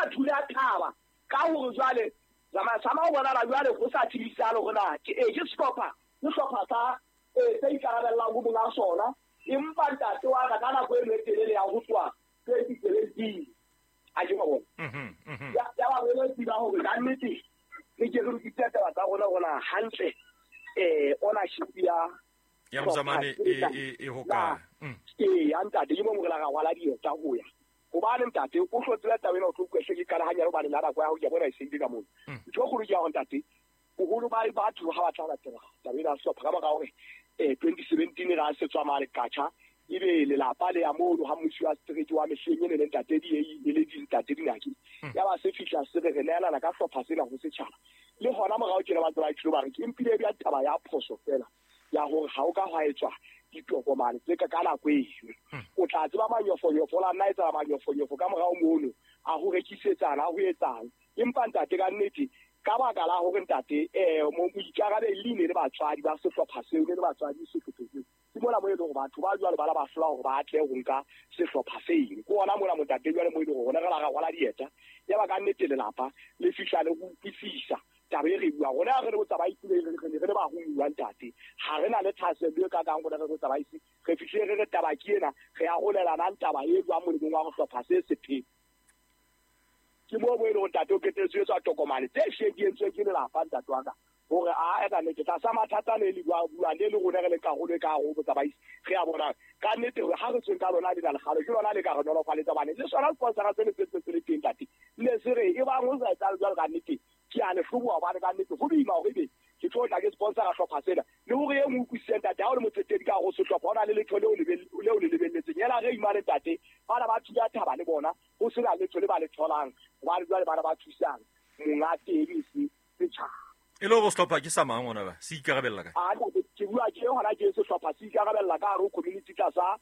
ra thula thaba ka hore jwale sama o bonala jwale go sa tsebisalo hore na ke ke sehlopha sa se ikarabellang ho monga sona empa ntate wa ka nako e telele ya ho tswa 2017 a ke bona ya ba re tseba hore ka nnete re ke re lokise taba tsa rona rona hantle ownership ya Mzamane e ho ka ya ntate ke mo re la ra rwala dieta ho ya hobane ntate o hlotsela taba ena o tlo kweshe ke qala hanyane hobane nna nako ya ho ke bona e sentse ka mona ntho e kgolo ke ya hore ntate boholo ba batho ha ba tla latela taba ena sehlopha ka baka hore 2017 ra se tswa mane katjha ebe lelapa le ya mono ha mmusi wa setereke wa mehleng ene le ntate di e le dintate dinaki ya ba se fihla se re neelana ka hlopha sena ho setjhaba le hona morao tjena ba tseba tshilo ba re ke empile ya taba ya phoso fela ya hore ha o ka hwa etswa ditokomane tse ka nako eno o tla tseba manyofonyofo la nna etsa manyofonyofo ka morao mono a ho rekisetsana ho etsang empa ntate ka nnete ka baka la hore ntate moikarabelli ne le batswadi ba sehlopha seo ne le batswadi sehlopha seo ke mona mo e leng hore batho ba jwale ba la ba hlola hore ba tle ho nka sehlopha seno ke ona mona montate jwale mo e leng hore rona re la ra rwala dieta ya ba ka nnete lelapa le fihla le ho utlwisisa taba e re buang rona re le botsamaisi re le baromuwa ntate ha re na le thahasello e kakang rona re botsamaisi re fihlile re re taba ke ena re arolelanang taba e jwang molemong wa ho hlopha se sephe ke moo mo e leng hore ntate o qetelletse ho etswa tokomane tse hlileng di entsweng ke lelapa ntate wa ka hore a ka nnete tlasa mathata le le buang le le rona re le karolo e ka hare ho botsamaisi re a bonang ka nnete hore ha re tsweng ka lona lena lekgalo ke lona le ka re nolofaletsa hobane le sona sponsora se ne se ntse se le teng ntate ne se re e bang ho sa etsahale jwalo ka nnete ke a le hloboha hobane ka nnete ho boima hore ebe ke tlo tla ke sponsora hlopha sena le hore e nngwe utlwisise ntate ha o le motsetedi ka hare ho sehlopha ho na le letho leo le lebelletseng ela re imane ntate bana ba thula thaba le bona ho sena letho le ba le tholang hobane jwale bana ba thusang monga teng se setjhaba e le hore sehlopha ke sa mang ona ba se ikarabella ka a ke bua ke hona ke sehlopha se ikarabella ka hare ho community tlasa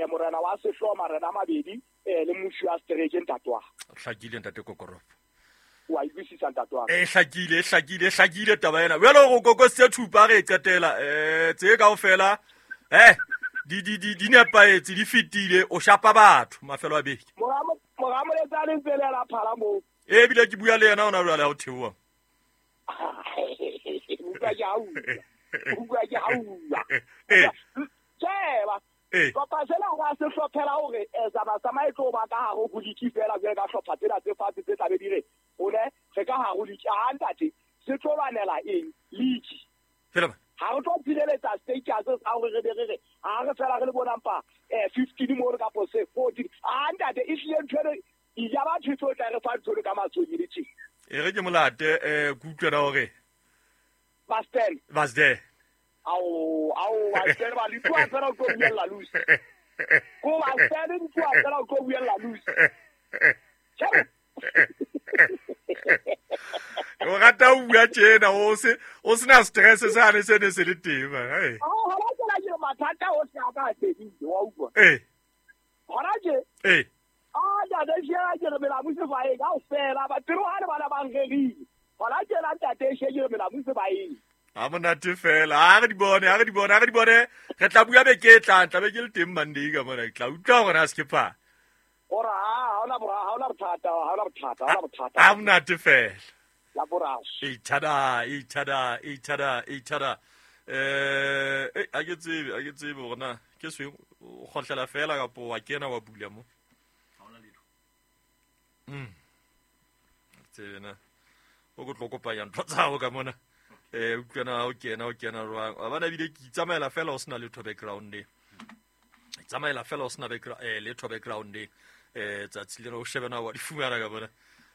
morena wa sehlooho marena a mabedi le mmusi wa setereke ntate wa hlakile ntate Kokoropo wa utlwisisa ntate wa e hlakile taba ena jwale go kokositse thupa re e qetela tse kaofela di nepahetse di fetile o shapa batho mafelo a beke mora moletsane ntse le la phala moo ebile ke bua le yena ona jwale ha o theoha utlwa ke hauwa tseba hlopha sena ga se hlophela hore Zama e tlo ba ka hare ho liki fela jwale ka hlopha tsena tse fatshe tse tlabe di re one re ka hare ho liki ha ntate se tlo lwanela eng liki fela ha re tlo tshireletsa status sa hore re be re re ha re fela re le bona mpa 15 mo re kapo se 14 ha ntate e hlile ntho eno ya batho e tlo tla re fa ntho ka matsong le tje e re ke molate ke utlwela hore Bastel Ao Bastel ba le tloa fela o tlo buella loose ko Bastel di tloa fela o tlo buella loose o rata o bua tjena o sena stress sane se ne se le teng man hey hona tsela ke mathata o tla ka tsedile wa utlwa hona je a ntate shela ke re mela muse ba eng kaofela ba tiro ha le bana ba nrerile hona tjena ntate she ke re mela muse ba eng a monate fela a re di bone re tla bua beke e tlang tla be ke le teng Monday ka mona ke tla utlwa hore na se ke pa ora ha hona bothata a monate fela la borao e thada a ke tsebe hore na ke se o kgotlela fela kapo wa kena wa bula mo tsena o go tlo kopanya ntho tsa hao ka mona utlwana o kena jwang wa bana bile ke tsamaela fela o sena letho background tsamaela fela o sena letho background tsatsi lena o shebena wa di fumana ka bona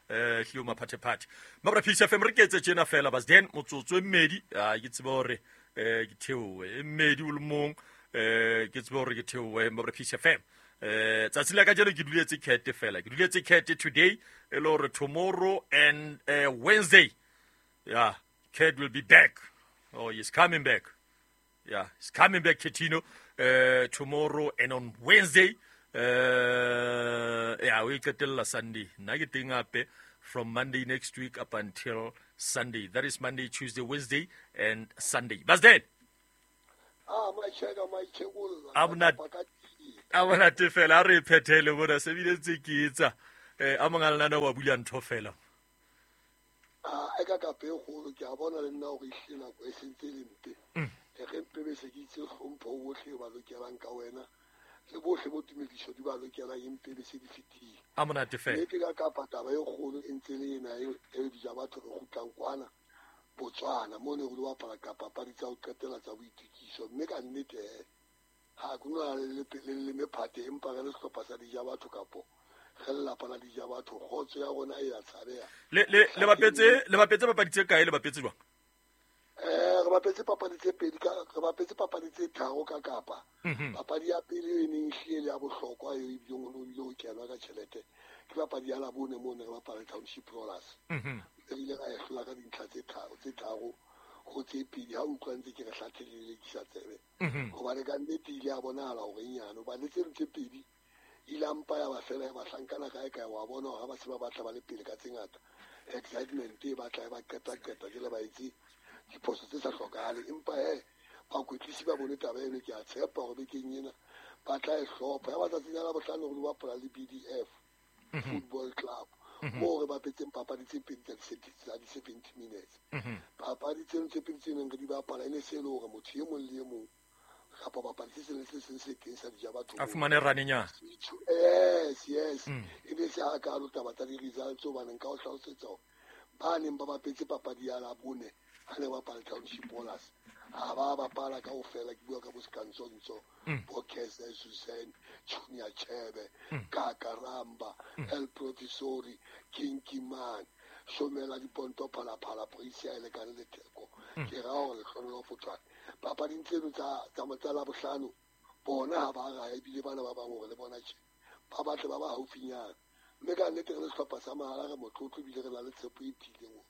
hlio maphathephathe mabra Peace FM re ketse tjena fela bas then motsotso e mmedi ke tsebe hore ke theowe e mmedi o le mong ke tsebe hore ke theowe mabra Peace FM tsatsi la kajeno ke duletse cat fela ke duletse cat today e le hore tomorrow and Wednesday yeah Cat will be back. Oh, he's coming back. Yeah, he's coming back, Ketino, tomorrow and on Wednesday. Yeah, we get till Sunday. Nna ke teng hape from Monday next week up until Sunday. That is Monday, Tuesday, Wednesday, and Sunday. Bas then. I'm not fela re phethele bona se bile tse ke etsa. A mong a lena wa bula ntho fela. A ka ka pe kgolo ke a bona le nna hore ehlile nako e sentse le mpe. E re mpe be se ke itse hlompho bohle ba lokelang ka wena. Le bohle bo tumediso di ba lokelang empe be se di fetile. A monate fela. Nnete ka Kapa taba e kgolo e ntse le ena e dija batho re kgutlang kwana Botswana mo ne re lo bapala ka papadi tsa ho qetela tsa boitukiso mme ka nnete ha ke no le mephate empa re le sehlopha sa dija batho kapo re lelapa la dija batho kgotso ya rona e ya tshabeha. Le bapetse papadi tse kae, le bapetse jwang? Re bapetse papadi tse pedi ka re bapetse papadi tse tharo ka Kapa. Papadi ya pele e neng ehlile le ya bohlokwa eo ebileng o ile ho kenwa ka tjhelete ke papadi ya Labone mo ne re bapala Township Rollers. Re ile ra e hlola ka dintlha tse tharo ho tse pedi ha utlwa ntse ke re hlathele ke sa tsebe. Hobane ka nnete ile ya bonahala hore nyane hobane tse tse pedi ile mpa ya ba fela ya bahlankana kae kae wa bona hore ba se ba batla ba le pele ka tse ngata. Excitement e batla e ba qeta ke le ba etse diphoso tse sa hlokahale empa bakwetlisi ba bone taba eno ke a tshepa hore bekeng ena ba tla e hlopha. Ya matsatsing a Labohlano re bapala le BDF Football Club moo re bapetseng papadi tse pedi tsa di-70 minutes. Papadi tseno tse pedi tse neng re di bapala e ne se e le hore motho e mong le e mong kapa bapadi se seng le se seng se teng sa dija batho a fumane ranenyana. Yes. E ne se hakalo taba tsa di-results hobane nka o hlalosetsa hore ba neng ba bapetse papadi ya Labone ha ne bapala Township Rollers ha ba bapala kaofela ke bua ka bo Skantsonso, bo Kese Susan, Junior Chebe, Kaka Ramba, El Professori, Kinky Man, Shomela Diponto Phalaphala, Prisia e lekane le Theko. Ke ra hore lehlohonolo Fotswane. Papading tseno tsa Labohlano bona ha ba raya ebile bana ba bang hore le bona tje ba batle ba ba haufinyana. Mme ka nnete re le sehlopha sa mahala re motlotlo ebile re na le tshepo e tiileng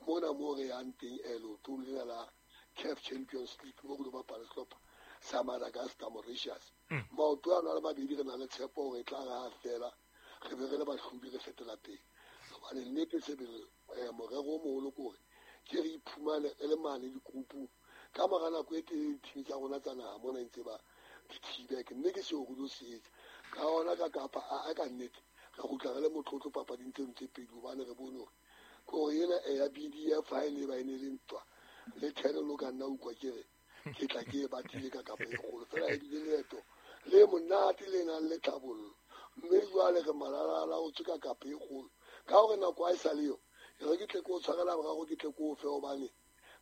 hore mona mo re yang teng leotong lena la CAF Champions League mo re lo bapala sehlopha sa Madagascar Mauritius. Maoto ano a le mabedi re na le tshepo hore e tla re ha fela re be re le bahlodi re fetela pele. Hobane nnete sebele morero o moholo ke hore ke re iphumane re le mane dikrupung ka mora nako e telele dithimi tsa rona tsa naha mona ntse ba di thibeke mme ke seo re lo se etsa. Ka hona ka Kapa a ka nnete re kgutla re le motlotlo papading tseno tse pedi hobane re bone hore kore ena ya BDF ha e ne ba e ne le ntwa le thele lo ka nna utlwa ke re ke tla ke e batile ka Kapa e kgolo fela e bile leeto le monate le nang le tlhabollo mme jwale re malalala o tswe ka Kapa e kgolo ka hore nako ha e sa le yo e re ke tle ke o tshwarela boraro ke tle ke o fe hobane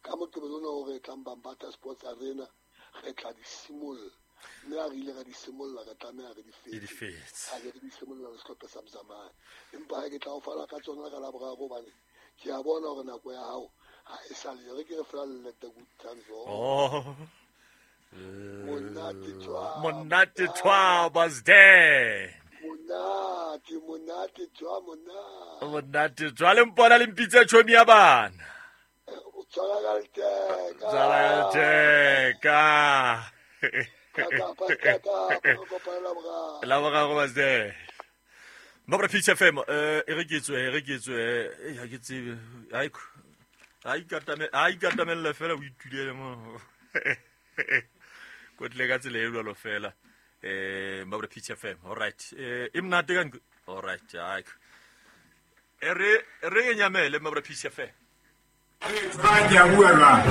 ka Moqebelo ona o re tlang Bambata Sports Arena re tla di simolla mme ha re ile ra di simolla re tlameha re di fetse. Ha re di simolla le sehlopha sa Mzamane empa ha ke tla o fala ka tsona ka Laboraro hobane ke a bona hore nako ya hao ha e sa le re ke re fela le the good times. Oh monate tshwa was there. Monate tshwa monate tshwa le mpona le mpitse tjhomi ya bana. Tshwara ka letheka. Laboraro was there. Mabra Peach FM e re ke tswe ha ke tsebe ha ikatamella fela o itulele mo kotle ka tsela e jwalo fela Mabra Peach FM. All right e monate ka all right ha e re nyamele Mabra Peach FM. Re tsaya bua jwang.